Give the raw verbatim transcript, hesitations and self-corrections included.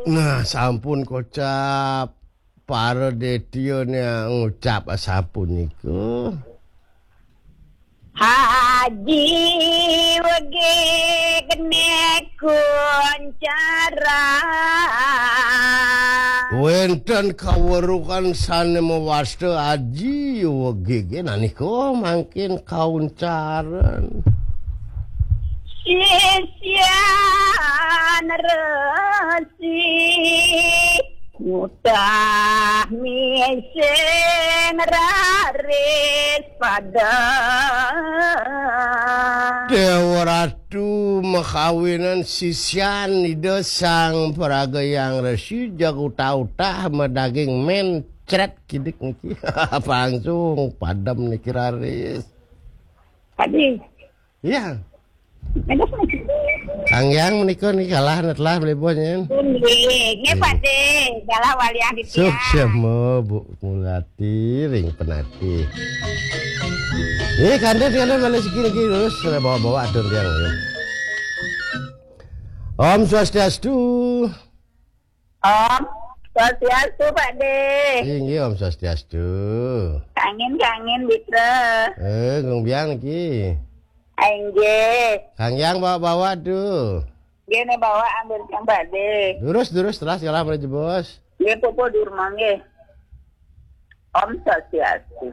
Nah, sampun kocap. Para detya ngucap sapunika. Haji wegik ne kuncara. Wenten kawerukan sane mawasta aji wegige nanika mangkin kauncaran. Sisyan resi mutah mising raris pada. Dewa Ratu makawinan sisyan Ida Sang Praga Yang Resi, jag utah-utah madaging mencret kidik niki. Langsung padem niki raris. Tadi. Iya. Ada apa? Kang Yang menika niki kalah, telah beli bos nyen. Nggih, nggih, Pak De. Galah walian di tiang. Suksma Bu Mulati ring penati. Nggih, kandhen, kandhen, malih siki niki terus bawa-bawa atur tiang, ya. Om Swastiastu. Om Swastiastu, Pak De. Inggih, Om Swastiastu. Kangin, kangin, Mitra. Eh, Gung Biang niki. Ah, inggih. Kang Yang bawa-bawa tuh. Nggih, ne bawa ambil kang, Pak De. Durus, durus, teras kalah mriki, Bos. Nggih, pupu durma nggih. Om Swastiastu.